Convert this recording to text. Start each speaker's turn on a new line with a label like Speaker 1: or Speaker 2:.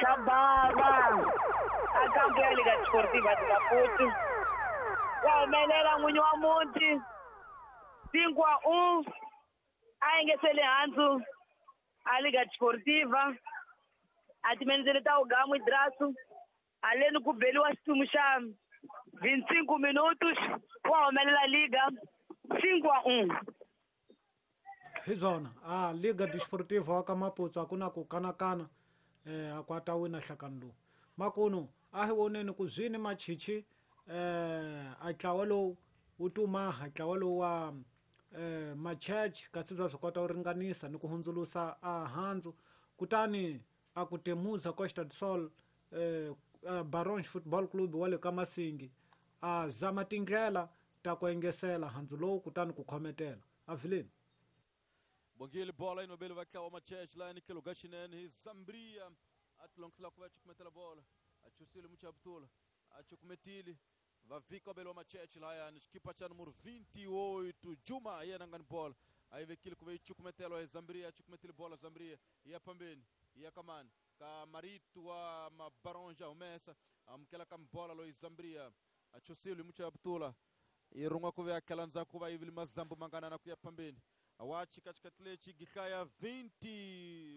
Speaker 1: Xa bava a kampo ya Liga Desportiva de Maputo. Wa humelela n'winyi wa muti 5-1 a engesele handzu a Liga Desportiva a timenzele ta ugamu idrasu aleni ku beliwa xitumu xa 25 minutos wa humelela Liga 5-1.
Speaker 2: Hi byona a Liga Desportiva wa ka Maputo a ku na ku kanakana a ku a ta wina nhlakano lowu. Makunu a hi voneni ku zwini machichi a ntlawa lowu wu tumaha ntlawa lowu wa Machurch kasi bya swi kota ku ringanisa ni ku hundzulusa a handzu kutani a ku Temuza Costa do Sol Barons Football Club wa le ka Masingi a zama tindlela ta ku engesela handzu lowu kutani ku khometela a vileni.
Speaker 3: Bongile bola inobeli va tlawa Machurch la ni tlhelo ka xinene hi Zambria a tilongisela ku va cukumetela bola a chusile Muchabutula a cukumetile va vika belo Machurch layani xikipa xa numero 28 Juma yena nga ni bola a yi vekile ku va yi cukumetelwa hi Zambria a cukumetile bola Zambria ya phambeni ya kamani ka Maritu wa Mabaronja humesa amukela ka bola loyi Zambria a chusile hi Muchabutula yi rin'wa ku ve a tlhela ndzhaku va yivile mazambu manganana ku ya phambeni wa chikachikati lexi gihlaya 20.